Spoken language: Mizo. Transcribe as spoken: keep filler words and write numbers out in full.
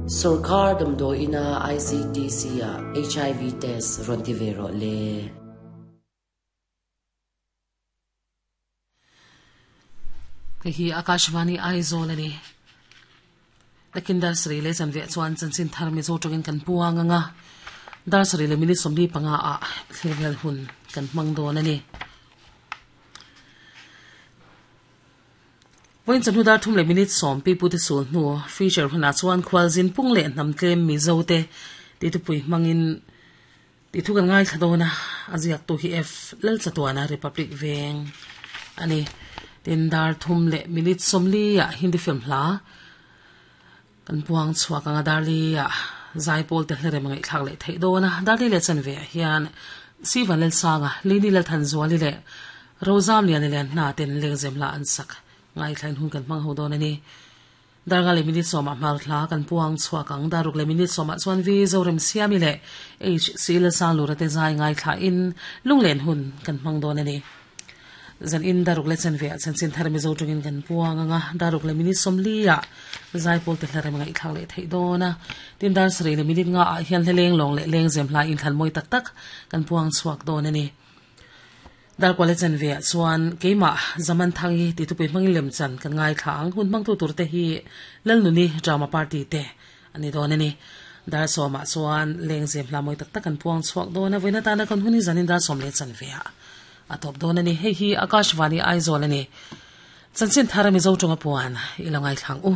Sorkar damdawiina I C D C ah H I V test rawn ti ve rawh le. Hei hi Akashvani Aizawl a ni. Takin dar sarih leh zanve chuan chanchin thar Mizo tawngin kan puang anga dar sarih leh minute sawmli panga ah thlir vel hun kan hmang dawn a ni. Vawiin chawhnu dar thum leh minute sawm pi pu te sul hnu feature hunah chuan khualzin pung leh hnam tlem Mizo te ti thupui hmangin ti thu kan ngaithla dawn a, a ziak tu hi F Lalchatuana Republic Veng a ni. Tin dar thum leh minute sawmli ah Hindi film hla kan puang chhuak anga darli ah zaipawl te hlerem a ngaihthlak leh theih dawn a, darli leh chanve ah hian Sivan Lalsanga, Lini Lalthanzuali leh Rozam Liani leh hna ten lengzem hla an sak ngaithlain hun kan hmang ho dawn a ni. Darnga leh minute sawmah hmar hla kan puang chhuak ang, daruk leh minute sawmah chuan V Zorem Siami leh H C Lalsang Lura te zai ngaithla in lunglen hun kan hmang dawn a ni. Zan in daruk leh chanve ah chanchin thar Mizo tawngin kan puang anga daruk leh minute sawmli ah zaipawl te hlarem a ngaihthlak leh theih dawn a. Tin dar sarih leh minute nga ah hian hleleng lawng leh lengzem hla in thlan mawi tak tak kan puang chhuak dawn a ni. Dar kual leh chanve ah chuan keimah zaman thang hi ti thupui hmangin lem chan kan ngaithla ang, hun hmang tu tur te hi Lalnuni drama party te a ni dawn a ni. Dar sawmah chuan lengzem hla mawi tak tak kan puang chhuak dawn a, vawiin atana kan hun hi zanin dar sawm leh chanve ah a tawp dawn a ni. Hei hi Akashvani Aizawl a ni. Chanchin thar Mizo tawnga puan i lo ngaithlang u.